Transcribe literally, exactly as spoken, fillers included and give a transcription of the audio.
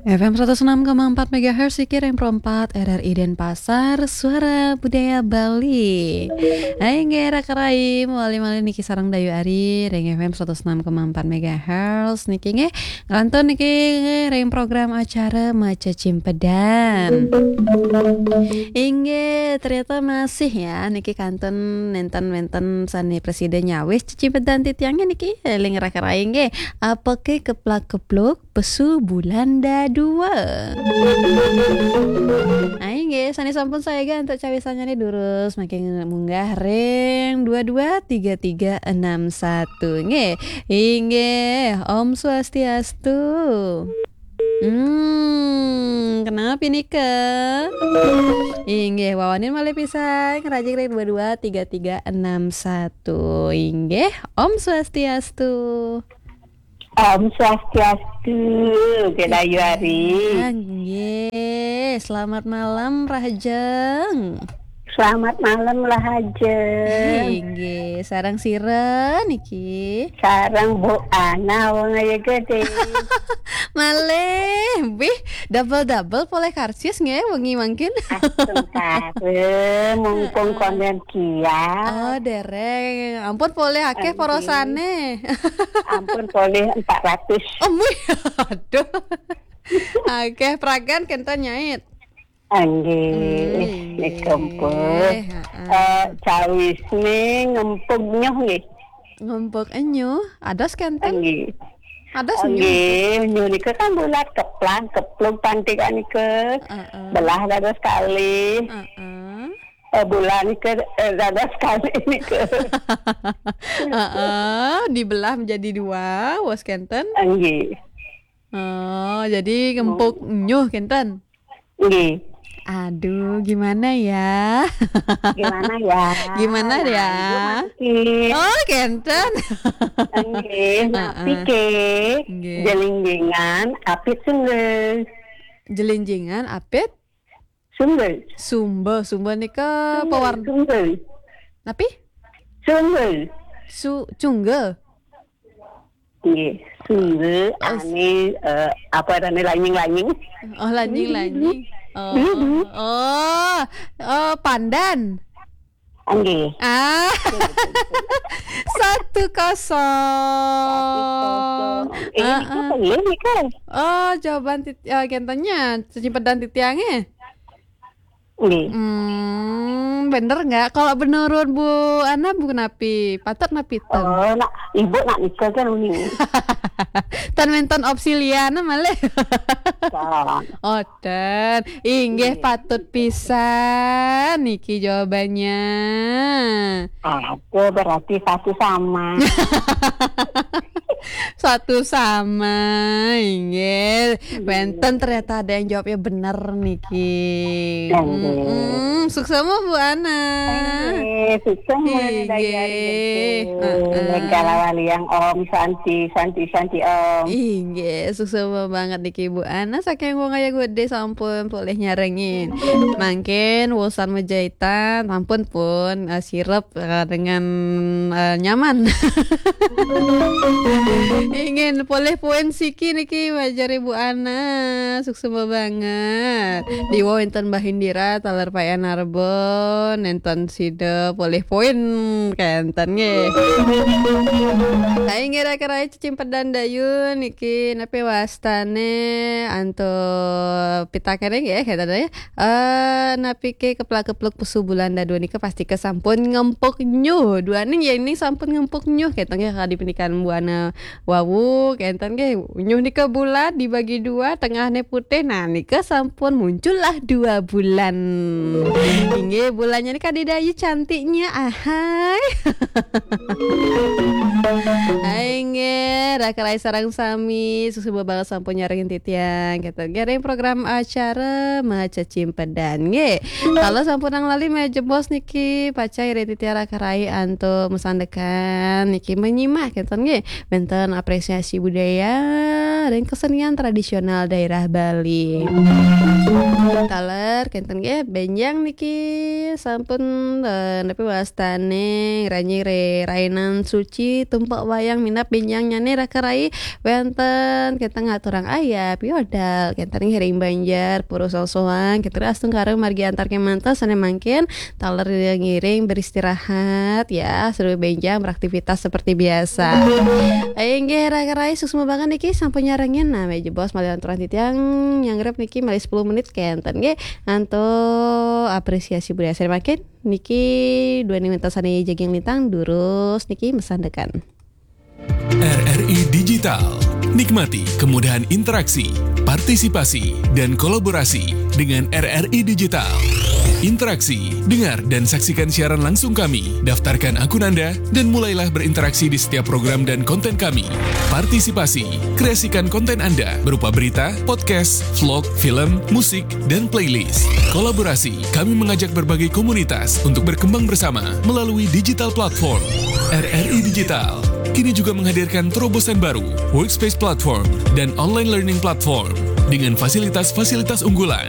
F M seratus enam koma empat megahertz, Siki Reng Perempat, R R I Denpasar, Suara Budaya Bali. Hai, nggih, raka rai, malih-malih niki sareng Dayu Ari, ring F M seratus enam koma empat megahertz, niki nggih, ngrantun niki ring program acara Maca Cimpedan. Inggih, ternyata masih ya, niki kantun nenten-nenten sane prasida nyawis cecimpedan titiange niki, ring raka rai nggih. Apake keplak-kepluk pesu bulan dadua. Ai nggih, sane sampun saega antuk cawisanyane durus, mangkin munggah ring dua dua tiga tiga enam satu. Nggih. Inggih, Om Swastiastu. Hmm, kenapa nika? Inggih, wawanin malih pisan, ngrajin ring dua dua tiga tiga enam satu. Inggih, Om Swastiastu. Om Swastiastu, Kak Dayu Ari. Ah, nggih. Selamat malam, Rahajeng. Selamat malam, Rahajeng. Inggih, sareng sira niki? Sareng Bu Ana, wong ayu gede. Malih, bih, double-double polih karcis nggih wengi mangkin. Astungkara, mumpung konden kiat. Oh, dereng. Ampun polih akeh porosane. Ampun polih empat ratus. Oh, mui. Aduh. Akeh pragan kenten nyait. Nggih, hmm, nggih, nggih, kempes. Heeh. Eh, cawisne ngempug nyuh nggih. Ngempug nyuh, ados kenten? Nggih. Ados nyuh? Nggih, nyuh nika kan bulat keplang, keplung pantikan nika. Heeh. Belah dados kalih. Heeh. Eh, bulan nika, eh, dados kalih nika. Heeh, dibelah menjadi dua, wos kenten? Nggih. Oh, jadi ngempug nyuh kenten? Nggih. Aduh, gimana ya? Gimana ya? Gimana ya? Ayo, Mas Ki. Oh, kenten. Nggih, heeh. Napi ke? Nggih. Jelinjingan apit sumber. Jelinjingan apit? Sumber. Sumber, sumber nika sumber, pewarna. Sumber. Napi? Sumber. Su-, cungga. Nggih, sumber, oh, ane, eh, apa ane lanying-lanying. Oh, lanying-lanying. Oh, oh, oh, pandan. Nggih. Ah. Satu kosong. Satu kosong. Eh, heeh. Nika pelih nika. Oh, jawaban tit-, eh, kentennya, cecimpedan titiange. Nggih. Hmm, bener nggak? Kalau menurut Bu Ana, Bu, napi? Patut napi ten? Oh, nak, Ibu nak nika kan uning. Ten wenten opsi liana malih. Kan. Oh, ten. Inggih, nggih, patut pisan niki jawabannya. Ada, berarti satu sama. Satu sama, inggih. Iya. Wenten ternyata ada yang jawabnya bener niki. Iya, nggih. Mm-mm. Suksema, Bu Ana. Nggih, suksema, inggih. Dari hari itu. Heeh. Kalawaliang Om Santi, Santi, Santi Om. Inggih, suksema banget niki, Bu Ana. Saking wong ayu gede sampun polih nyarengin. Mangkin wusan majaitan, sampun pun, eh, sirep, eh, dengan, eh, nyaman. Ingin polih poin siki niki, wajar Ibu Ana. Suksema banget. Diwa wenten Mbah Indira, taler Pak Enarbon, nenten sida polih poin kenten nggih. Hai, ngira-kira cecimpedan Dayu niki, napi wastane antuk pitakene nggih, kenten ya. Eh, napike keplak-kepluk pesu bulan dadua nika pastika sampun ngempuk nyuh. Duaning ya ini sampun ngempuk nyuh, kenten nggih, kadi penikan Bu Ana wau, kenten nggih, nyuh nika bulat dibagi dua, tengahne putih. Nah, nika sampun muncullah dua bulan. Inggih, bulannya ini kadi Dayu cantiknya, ahai. Hai nggih, raka rai sareng sami, suksema banget sampun nyarengin titiang. Kenten nggih, ring program acara Maca Cimpedan nggih. Kalau sampunang lali majebos niki, pacai ring titiang raka rai antuk masandekan niki menyimak kenten nggih. Wenten kegiatan apresiasi budaya dan kesenian tradisional daerah Bali. Taler kenten nggih benjang niki sampun eh, napi wastane ngranjing rerainan suci tumpek wayang minab benjangnyane raka rai wenten kenten ngaturang ayap yodal kenten ngiring banjar pura sosoan kenten astungkara margi antar kemanten sane mangkin taler ngiring beristirahat ya sambil benjang beraktivitas seperti biasa. Inggih raka rai suksma banget niki sampun nyarengin nah meja bos malih aturan titiang nyanggrep niki malih sepuluh menit kenten nggih antuk apresiasi budaya sane mangkin niki dua menit sane jaging lintang durus niki mesandekan. R R I Digital. Nikmati kemudahan interaksi, partisipasi, dan kolaborasi dengan R R I Digital. Interaksi, dengar dan saksikan siaran langsung kami, daftarkan akun Anda, dan mulailah berinteraksi di setiap program dan konten kami. Partisipasi, kreasikan konten Anda berupa berita, podcast, vlog, film, musik, dan playlist. Kolaborasi, kami mengajak berbagai komunitas untuk berkembang bersama melalui digital platform. R R I Digital kini juga menghadirkan terobosan baru, Workspace Platform dan Online Learning Platform dengan fasilitas-fasilitas unggulan